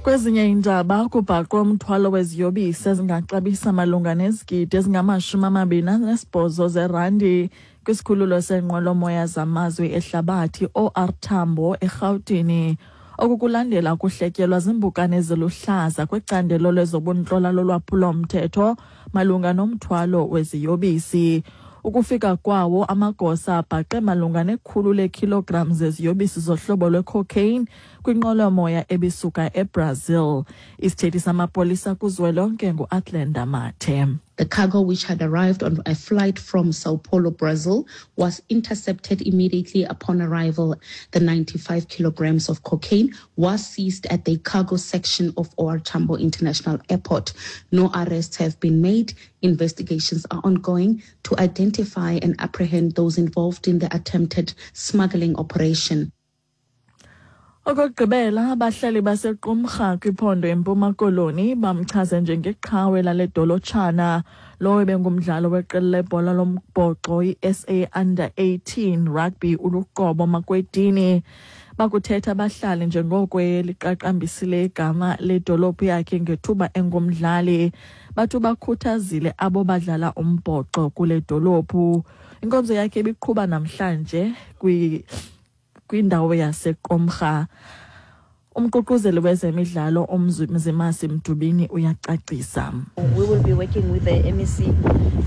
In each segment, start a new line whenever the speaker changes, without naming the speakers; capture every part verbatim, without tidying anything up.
Kwezinye iindaba, kubhaqwe umthwalo weziyobisi ezingaxabisa malunga nezigidi ezingamashumi amabini anesibhozo zerandi kwisikhululo seenqwelomoya zamazwe ehlabathi O R Tambo eRhawutini. Oku kulandela ukuhletyelwa ziimpukane eziluhlaza kwicandelo lezobuntlola lolwaphulo-mthetho malunga nomthwalo weziyobisi. Ukufika kwawo, amagosa abhaqe malunga nekhulu leekhilogram zeziyobisi zohlobo lwecocaine kwinqwelomoya ebisuka eBrazil. Isithethi samapolisa kuzwelonke nguAthlenda Mathe.
The cargo, which had arrived on a flight from Sao Paulo, Brazil, was intercepted immediately upon arrival. The ninety-five kilograms of cocaine was seized at the cargo section of O R. Tambo International Airport. No arrests have been made. Investigations are ongoing to identify and apprehend those involved in the attempted smuggling operation.
Okokugqibela, abahlali baseQumrha kwiphondo eMpuma Koloni bamchaze njengeqhawe lale dolotshana lowo ebengumdlalo weqela lebhola lombhoxo i-S A Under eighteen Rugby uLuqobo Makwedini. Bakuthetha abahlali njengoko eliqaqambisile igama ledolophu yakhe ngethuba engumdlali. Bathi bakhuthazile abo badlala umbhoxo kule dolophu. Inkonzo yakhe ibiqhuba namhlanje kwi kwindawo yaseQumrha. Umququzeli wezemidlalo uMzimasi Mdubini uyacacisa.
We will be working with the M E C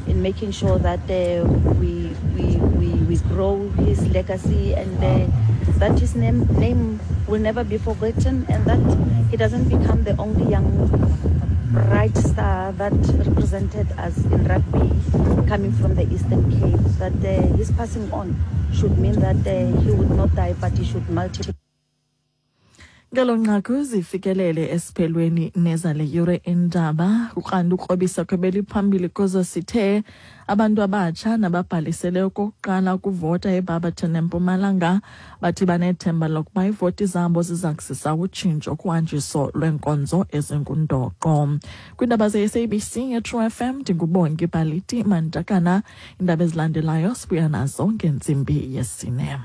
in making sure that uh, we, we, we, we grow his legacy and uh, that his name, name will never be forgotten and that he doesn't become the only young bright star that represented us in rugby coming from the Eastern Cape. That uh, his passing on should mean that uh, he would not die, but he should multiply.
Ngelo nqaku zifikelele esiphelweni nezale yure indaba. Ukanti ukrobisa kwebeliphambili kuzo sithe abantu abatsha nababhalisele okokuqala ukuvota eBarberton eMpumalanga bathi banethemba lokuba iivoti zabo ziza kuzisa utshintsho kuhanjiso lweenkonzo ezingundoqo. Kwiindaba ze-S A B C yeTru F M, ndinguBongi Baliti Mantakana. Iindaba ezilandelayo sibuya nazo ngentsimbi yesine.